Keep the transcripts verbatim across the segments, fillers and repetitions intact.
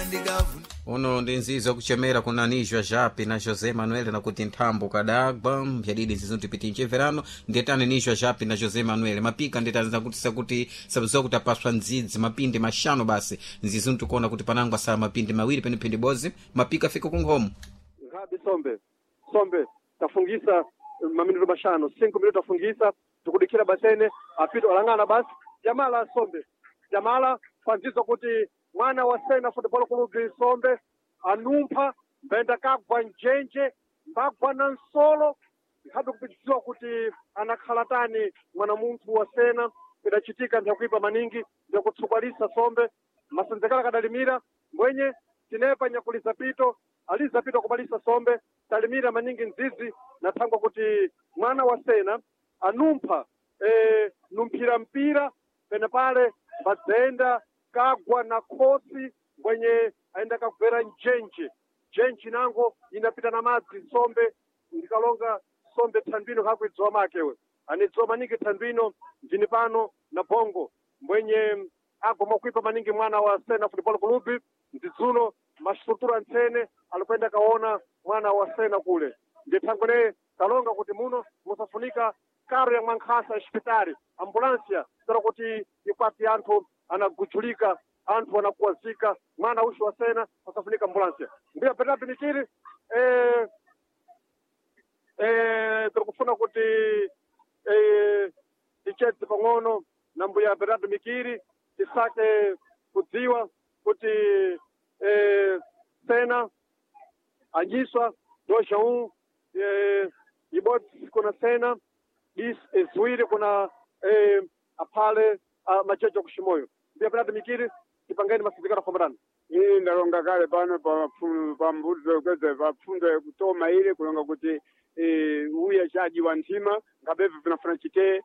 Ndikavu. Uno ndi nzizo kuchemera kuna Nijwa Japi na José Manuel nakuti nthambo kadagwa mbyadidi nzizo tipiti mcheverano ndetani Nijwa Japi na José Manuel mapika ndetani zakuti sakuti sabuziwa kuti apaswa ndzidzi mapindi mashano basi nzizo ntikuona kuti panango asala mapindi mawiri pene phindi bozi mapika afika kunkhomo. Nkhabe sombe sombe tafungisa eh, maminuto mashano cinco minuto tafungisa tikudikira basene apito alang'ana basi jamala sombe jamala kwanzizo kuti mwana wa Sena Football Club sombe anumpha mbenda kagwa njenje mbagwa na nsolo nkhabe kupidziwa kuti anakhala tani mwana munthu wa Sena idachitika ndyakuipa maningi ndyakutsukwanisa sombe masenzekala kadalimira mbwenye tinepa nyakuliza pito aliza pito kubalisa sombe talimira maningi nzizi na thangwa kuti mwana wa Sena anumpha e, numphira mpira pene pale mbadzenda kagwa na khosi mbwenye aenda kagwera njenje njenje nango inapita na madzi sombe ndikalonga sombe thandwino kakuidziwa makewe anidziwa maningi thandwino ndini pano na bongo mbwenye agoma kuipa maningi mwana wa Sena Football Club ndidzuno masitutura ntsene alikwenda kaona mwana wa Sena kule ndithangwene kalonga kuti muno musafunika karo ya mwankhasa ya xipitali ambulansia tera kuti ikwati anthu anagujulika anthu anakuwazika mwana uxi wa Sena asafunika ambulansia mbuya Bernardo Mikiri eh, eh, tirikufuna kuti eh, tichedze pang'ono na mbuya Bernardo Mikiri tisake kudziwa kuti eh, Sena anyiswa dois a um eh, ibodzi kuna Sena is ziwiri kuna eh, aphale ah, machecho kuximoyo mbuya Bernardo Mikiri tipangeni masindikano afambanani. Ii ndalonga kale pano pa pambuto kweze papfundo yakutoma ile kulonga kuti eh, uya chaji wa nthima ngabevu vinafuna chite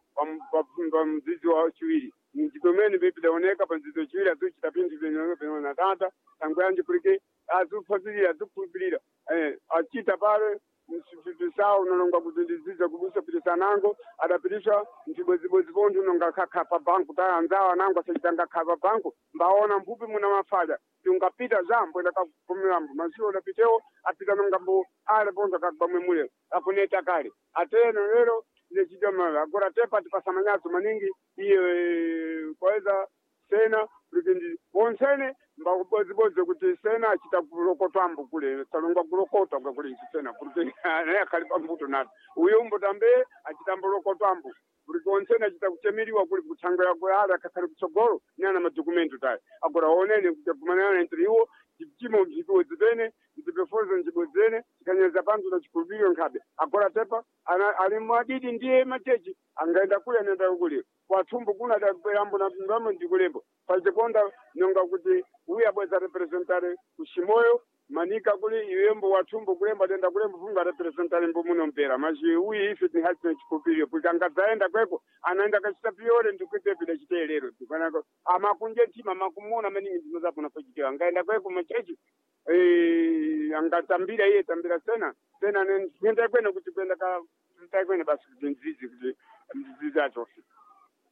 pa mzizi wa chiwiri mdziko mene vipidaoneka pa mzizi wachiwiri azuchita pinthu pinaona tata tangu yanji kulike azuphazilira azukhulupirira eh, achita pale msipisawo unalonga kuti ndiziza kubusa pitisanango adapitisha mtibwezibwezi pontho unonga khakha pa banku ta anzawo anango asachitanga kha pa banku mbaona mphupi muna mafalya tiungapita zambo enda kakumilambo masiwo adapitewo apita nongambo ale pontho akagwamwe mule akuneta kale ateno lero ndechita mala agora tepa tipasamanyazo maningi iye kwaweza sena kuti wonsene mbakubozibodzi kuti sena achita kulokotwambo kule talongwa kulokotwa kwakuli sena kuti naye akhali pambuto nato uyo mbutambe achitambo lokotwambo kuti wonsene achita kuchemeriwa kuli kutsango yako ali akakhali kutsogolo nana madokumento tayi agora onene kuti agumanana entre iwo chimo mchibodzi pene mtipefozo mchibodzi pene chikanyeza panthu na chikhulupiriro nkhabe agora tepa ana- ali mwadidi ndiye machechi angaenda kule anaenda kule kwathumbu kuna adabwerambo na ndamo ndikulembo pachikonda nonga kuti uya bweza representare kushimoyo manika kuli iwembo wathumbu kulemba tenda kulembo funga representare mbo muno mpera machi uyi ife tinhatina chikhulupiriro kuti angadzaenda kweko anaenda kachita piyore ndikuite pida chiteelero ndikanako amakunje ntima amakumona maningi ndinozapona pachitewa angaenda kweko machechi eh, angatambira iye tambira sena sena nenda kwene kuti kwenda ka kwene basi kuti nzizi kuti mzizi acho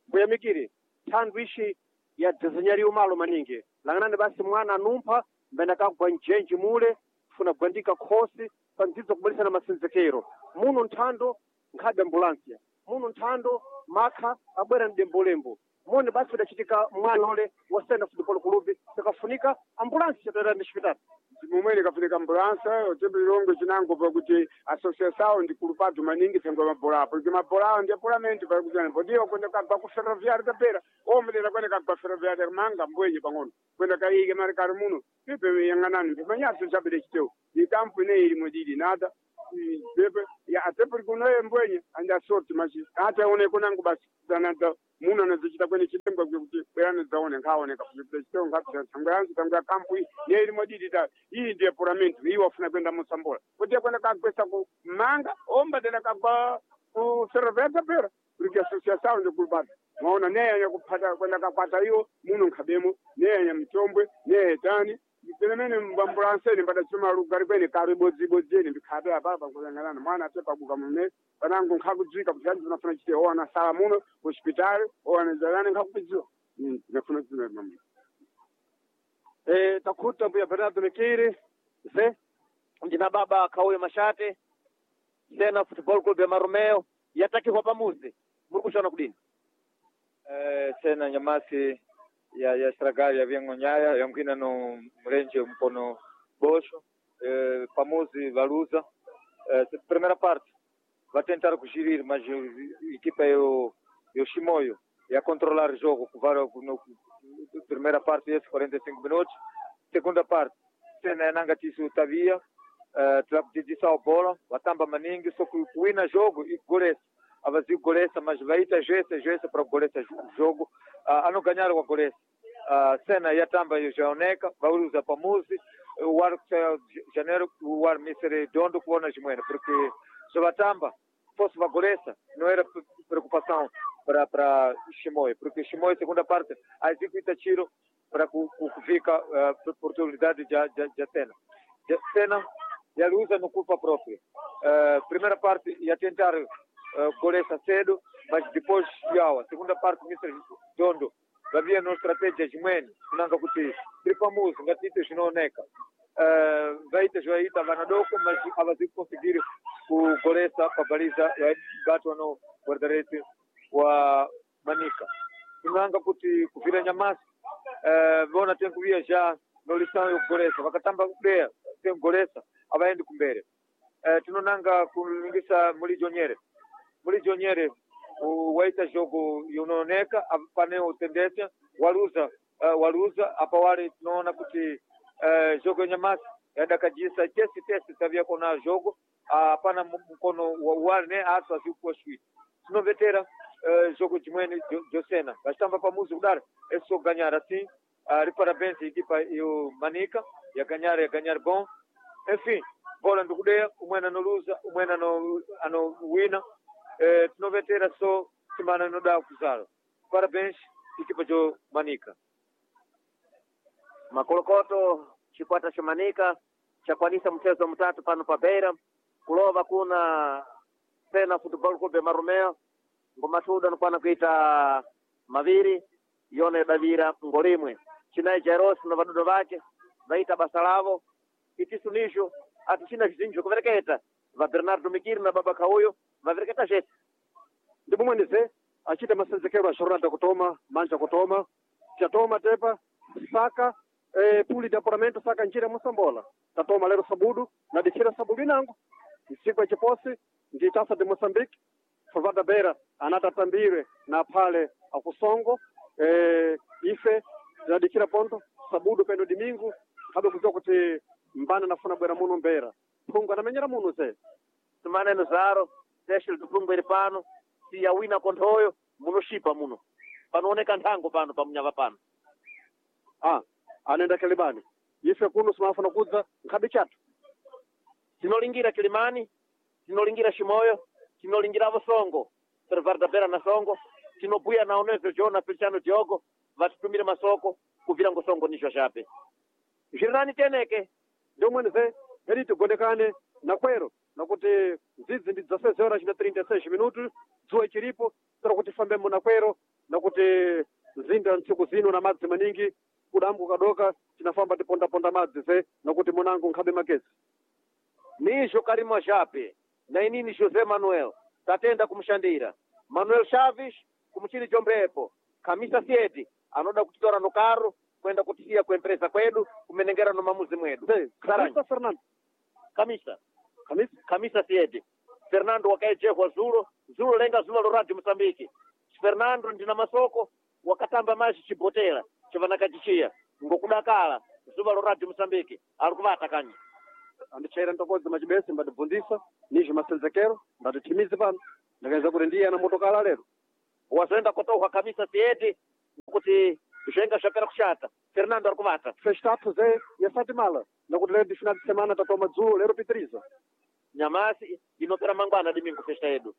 Mbuya Mikiri thandu ishi yadzezenyaliwa malo maningi lang'anani basi mwana anumpha mbene akagwa njenji mule funa kugwandika khosi pandzidzo kubalisana masenzekero muno nthando nkhabe ambulansia muno nthando makha abwera mdembolembo mone basi idachitika mwana ule wa Sena Football Club sakafunika ambulansi chatera ndi xipitali. Mumene kafunika ambulansa otebulilongo chinango pakuti associação ndi kulupatu maningi thengo mabola apo kuti mabola awo ndi apulamenti pakuti podiwa kwenda kagwa ku ferroviário tapera omutera kwenda kagwa ferroviário manga mbwenye pang'ono kwenda kaike mari kari muno pepe yang'anani mpimanyaso chabide chitewu ikampu ine ili mwedidi nada pepe ya atepuri kunoye mbwenye andi asorti machi ata one kunango basi tanata muno anazochita kwene chitengwa kuti bwerano dzaone nkhaoneka kuti chitewu nkapita thango yanzu thango ya kampu iyi ne ili mwedidi ta iyi ndiye puramenti iyi wafuna kwenda musambola kuti kwenda kagwesa ku manga omba tena kagwa ku ferroviário tapera kuti associação ndikulupata maona neyanya kuphata kwenda kakwata iwo muno nkhabemo neyanya mchombwe neye tani pelemene mbambulanseni mbadachuma lugari kwene kari bodzibodzi ene ndikhabe apapa nkuyang'anana mwana atepakuka mune panango nkhakudzika kuti anzi nafuna chite owana sala muno hospitali owana jalani nkhakupidziwa nafuna zina mamwe. E, takuta mbuya Bernardo Mikiri ze ndina baba Kauyo Mashate Sena Football Club ya Marumeo yatakihwa pamuzi muri kushona kudini Eh, sena nyamasi ya ya estragar ya vyeng'onyaya yankwina no mrenje mkono bosho eh, pamuzi valuza eh, primeira parte va tentar kugirir mas eh, equipa yo yo Chimoio ia controlar o jogo kuvar no primeira parte esse quarenta e cinco minutos segunda parte sena yananga tisu tavia eh, tilakudidisa a bola watamba maningi só que kuwina jogo e golesa avazi golesa mas vaita jese jese para golesa jogo uh, ano ganhar o golesa uh, cena yatamba yaoneka vauruza pamuzi o ar janeiro o ar mister dondo kuona jimwene porque se vatamba fosse va golesa não era preocupação para para Chimoio porque Chimoio segunda parte a executa tiro para que que fica uh, oportunidade de de de cena de cena e ela usa no culpa própria uh, primeira parte ia tentar uh, golesa cedo, mas depois yawa. Segunda parte, mister Dondo, havia no estratégia jimweni, kunanga kuti tiri pamuzi ngatite zvinooneka. Uh, vaita zvaita vanadoko, mas avazi conseguir kugolesa pabaliza vabatwa no guarda-redes wa Manica. Kunanga kuti kuvira nyamasi, uh, vona tem kuvia já no lição yokugolesa, vakatamba kudeya tem kugolesa, avaendi kumbere. Uh, tinonanga kulingisa Mulijo Nyere Mulijo Nyere waita jogo yunooneka pane tendência waluza uh, waluza apa wale tunaona kuti uh, jogo nyamasi yadakajisa tesi tesi tavia kona jogo hapana uh, mkono wa wale ne aso azikuwa shwi tinovetera uh, jogo jimweni josena vachitamba pamuzi kudaro eso ganyara assim uh, riparabéns equipa yo Manica ya ganhar ya ganhar bom enfim bola ndikudeya umwene anoluza umwene ano anowina eh, tinovetera só semana inoda kuzala parabéns equipa jo Manica Makolokoto chikwata cha Manica chakwanisa mchezo mutatu pano pa Beira kulova kuna Sena Football Club ya Marumeo ngomatuda nokwana kuita maviri yone davira ngolimwe chinai Jairosi na vadudo vake vaita basa lavo itisu nisho atichina zvizinji kuvereketa va Bernardo Mikiri na baba Kauyo vavereketa zvese ndimumwenize achita masenzekero a jornada kutoma manja kutoma chatoma tepa saka eh, puli de apuramento saka njira mosambola tatoma lero sabudu na dikira sabudu inango nsiku ya chiposi ndi tasa de Moçambique Fovada Beira anatatambire na pale akusongo eh, ife tinadikira ponto sabudu peno domingo kabe kuziwa kuti mbana nafuna bwera muno mbera phungu anamenyera muno ze simaneno zaro teshel tuphungu iri pano siyawina konthoyo munoshipa muno panooneka nthango pano pamunyava pano ah anaenda kilimani ife kuno simafuna kudza nkhabe chatu tinolingira Kilimani tinolingira Shimoyo tinolingiravo Songo Servarda Bera na Songo tinobuya na Onezo Jona Feliciano Diogo vatitumire masoko kuvira ngo Songo nisho shape zvirinani teneke ndiumwenize heri tigondekane na kwero nakuti ndzidzi ndi dzaseis horas na trinta e seis minutos dzuwa ichiripo tira kuti fambemo na kwero nakuti mzinda ntsiku zino na madzi maningi kudambu kadoka tinafamba tipondaponda madzi ze nakuti munango nkhabe magezi nizvo Karima Jape na inini José Manuel tatenda kumushandira Manuel Chaves kumuchini chombepo Kamisa Sieti anoda kutitora nokaro kwenda kutisiya kuempresa kwedu kumenengera no mamuzi mwedu Ze, Saranyi. Kamisa Fernando Kamisa Kamisa Kamisa Sieti Fernando wakaejehwa zulo zulo lenga zulo loradi Mosambiki Fernando ndina masoko wakatamba maji chibotera chavanakachichiya ngokudakala zuva loradi Mosambiki ari kuvata kanyi andichaira ntokodzi machibese mbatibvunzisa nizvo masenzekero mbatithimizi pano ndakaeza kuti ndiye ana motokala lero wazoenda kotohwa Kamisa Sieti kuti zvenga zvapera kushata Fernando ari kuvata festatu ze yasatimala nakuti lero ndi final de semana tatoma dzulo lero pitiriza nyamasi inopera mangwana dimingu festa yedu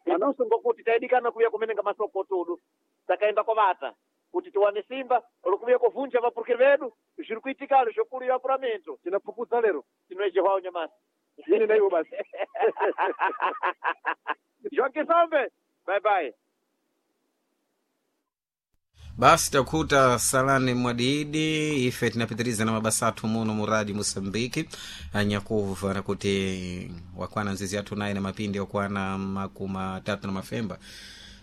itusu ngokuti taidikana kuuya kumenenga masoko tudu takaenda kwavata kuti tiwane simba rokuuya kovhunja vapurukiri vedu zviri kuitikalo zvokuru apuramento tinapfupudza lero tinoejehwawo nyamasi ini naiwo basi Joaquim Sombe bye bye. Basi takuta salani mwadidi ife tinapitiriza na mabasa athu muno mu radio Moçambique anyakuva nakuti wakwana nzizi athu naye na mapindi okwana makumi atatu na mafemba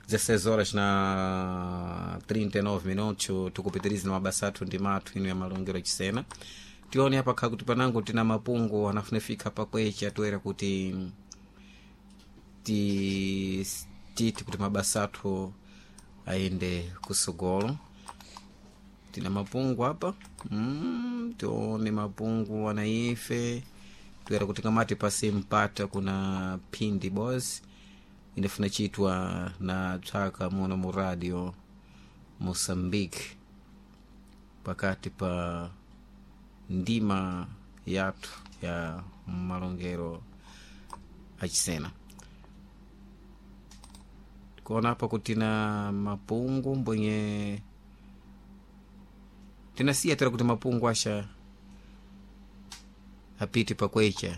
dezesseis horas na trinta e nove minutos. Tukupitiriza na mabasa athu ndi mathu ino ya malongero achisena. Tione apa kha kuti panango tina mapungu anafunafika pakwecha toera kuti ti titi kuti mabasa athu aende kusogolo. Tina mapungu apa mm, tione mapungu anaife toera kuti kamati pasi mpata kuna phindi boys inafuna chitwa na tswaka muno mu radio Moçambique pakati pa ndima yathu ya malongero achisena. Kuona apa kuti na mapungu mbwenye tinasiya tera kuti mapungu asha apite pakwecha.